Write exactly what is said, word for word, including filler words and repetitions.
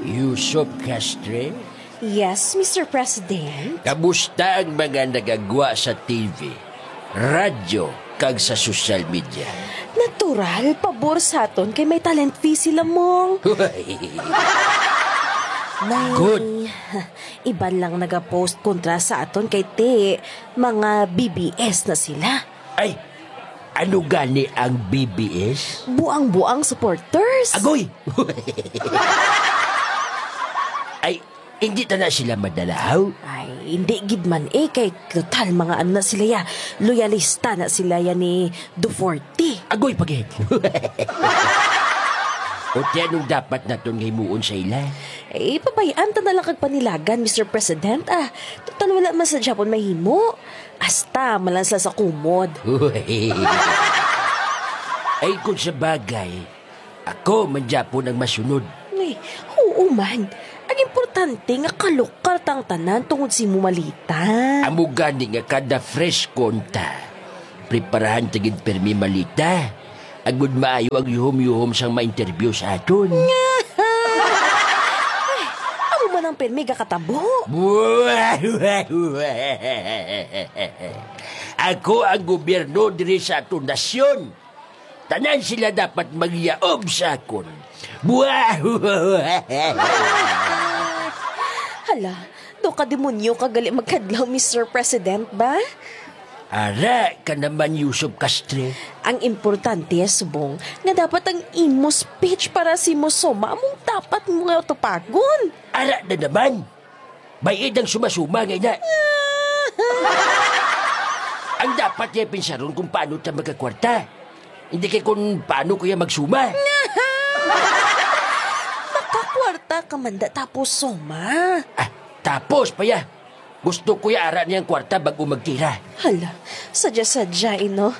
Yusop Castre? Yes, Mister President. Kamusta ang mga nagagwa sa T V, radyo, kag sa social media? Natural, pabor sa aton kay may talent fee sila, Mong. May Good. Iban lang nagapost kontra sa aton kay ti mga B B S na sila. Ay, ano gani ang B B S? Buang-buang supporters. Agoy! Ay, hindi ta na sila madalaw? Ay, hindi gid man eh, kay total mga ano na sila ya, loyalista na sila ya ni Duforte. Agoy, pagid. O ti anong dapat naton nga himuon sa ila? Eh, pabayaan ta na lang kag panilagan, Mister President. Ah, total wala man sa Japon mahimo. Hasta man lang sila sa kumod. Ay, kung sa bagay, ako man gyapon ang masunod. Ay, oo man. Ang importante nga kalukal ta ang tanan tungod sa imo malita. Amo gani nga kada fresh konta, preparahan ta gid pirmi malita. Agud maayo ang yuhom-yuhom sang ma-interview sa aton. Ay, amo man ang pirmi gakatabo. Ako ang gobyerno diri sa aton nasyon. Tanan sila dapat magyaob sa akon. Hala, do ka demonyo ka gali magkadlaw, Mister President, ba? Ara ka naman, Yusop Castre. Ang importante, subong, nga dapat ang imo speech para si Mosoma among dapat mo nga tupagon. Ara na naman. Bay-id ang sumasuma nga ina. Ang dapat niya pinsaron kung paano ta magkakwarta. Hindi kay kung paano ko ya magsuma. Makakwarta ka man da tapos suma. Ah, tapos pa ya. Gusto ko ya ara niyang kwarta bago magtira. Hala, sadya-sadya, eh, no?